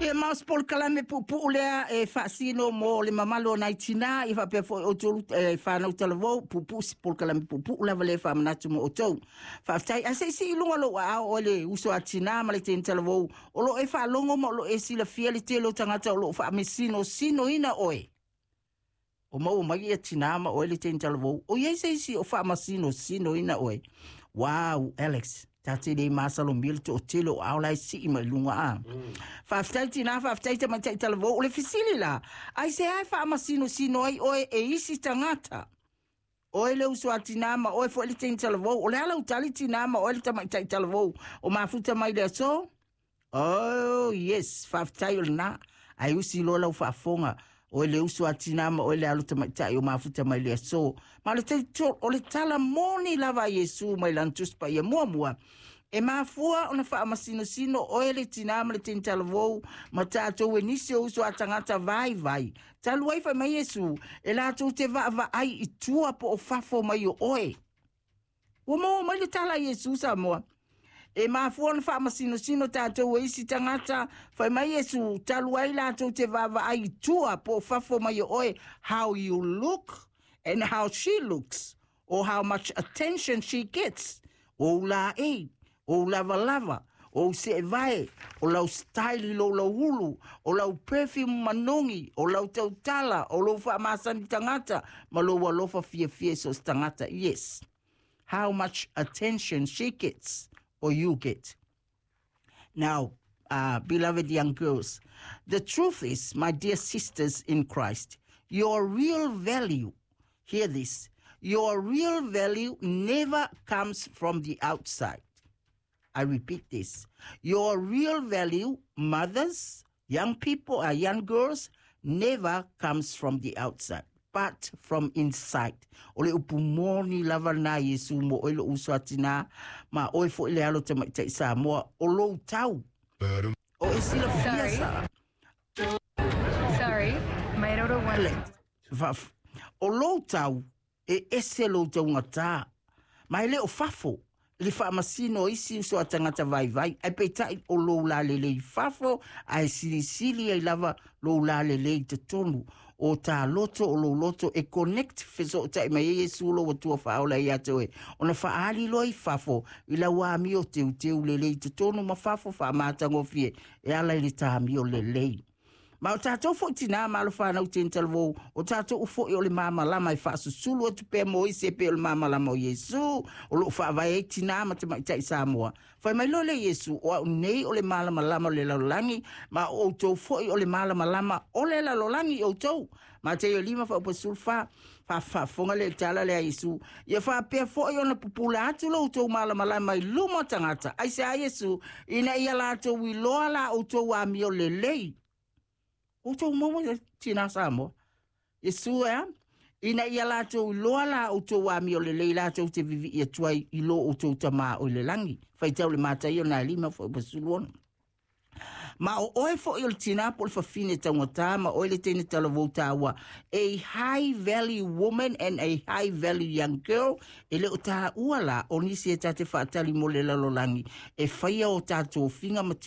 Ia ma o se polokalame puupuu lea e faasino mo le mamalu o nai tinā, ia faapea foi outou e fanau talavou, puupuu se polokalame puupuu lava lea e faamanatu mo outou. Faafetai. Ae se i sii i luga lou aao oe le uso a tinā ma le teine talavou o lo o e faalogo ma o lo o e silafia le tele o tagata o lo o faamasinosinoina oe. O maua mai ia tinā ma oe le teine talavou, o i ai se isi o faamasinosinoina oe? Wow, Alex, ta te le masalomia le toatele o ao la e sii mai luga a. Faafetai tinā, faafetai tamaitai talavou. O le fesili la, aisea e faamasinosino ai oe e isi tagata? Oe le uso a tinā ma oe foi le teine talavou. O le a lau tali tinā ma oe le tamaitai talavou o mafuta mai le aso? Oh, yes, faafetai o lena. Ae usi loa lau faafofoga, oe le uso a tinā ma oe le alo tamaitai o mafuta mai le aso. Ma o le tala moni lava a Iesu mai lana Tusi Paia muamua, e mafua ona faamasinosino oe le tinā ma le teine talavou ma tatou e nisi o uso a tagata vaivai. Talu ai fai mai Iesu, e latou te vaavaai i tua po o fafo mai o oe. Ua maua mai le tala a Iesu Samoa. E mafua ona faamasinosino tatou e isi tagata, fai mai Iesu, talu ai latou te vaavaai i tua po o fafo mai o oe, how you look and how she looks, or how much attention she gets, o ou laei, o ou lavalava, o ou seevae, o lau style i lou lauulu, o lau perfume manogi, o lau tautala, o lou faamasani tagata, ma lou alofa fiafia i so o se tagata. Yes. How much attention she gets or you get. Now, beloved young girls, the truth is, my dear sisters in Christ, your real value, hear this, your real value never comes from the outside. I repeat this. Your real value, mothers, young people, young girls, never comes from the outside, but from inside. O le upu moni lava na Iesu mo oe lou uso a tinā, ma oe foi le alo tamaitai Samoa, o lou tau. O e silafia sa. Sorry, my daughter wants. O lou tau, e ese lou taugatā, ma e le o fafo i le faamasino o isi uso a tagata vaivai, ae peitai o lou lalelei i fafo, ae silisili ai lava lou lalelei i totonu. O ta loto, o lou loto e connect fesootai mai ai Iesu lou Atua faaola ia te oe, ona faaali loa i fafo i lau amio teuteu lelei i totonu ma fafo faamatagofie e ala i le tāmio lelei. Ma o tatou foi tinā ma alo fanau teine talavou, o tatou foi o le malamalama e faasusulu atu pea mo isi e pei o le malamalama o Iesu, o loo faavae ai tinā ma tamaitai Samoa. Fai mai loa lea Iesu, o au nei o le malamalama o le lalolagi, ma o outou foi o le malamalama o le lalolagi outou. Mateio 5 faaupu 14, faafofoga lea i le tala lea a Iesu, ia faapea foi ona pupula atu lo outou malamalama i luma o tagata. Aisea Iesu, ina ia latou iloa la outou amio lelei. Outou maua ia tinā Samoa. Iesu e a? Ina ia latou iloa la outou amio lelei latou te vivii atu ai i lo outou Tama o i le lagi. Faitau le Mataio na 5 faaupu 16. Ma o oe foi o le tinā po o le fafine taugatā ma oe le teine talavou taua, a high value woman and a high value young girl, e le o taua la o nisi e ta te faatali mo le lalolagi e faia o tatou figa ma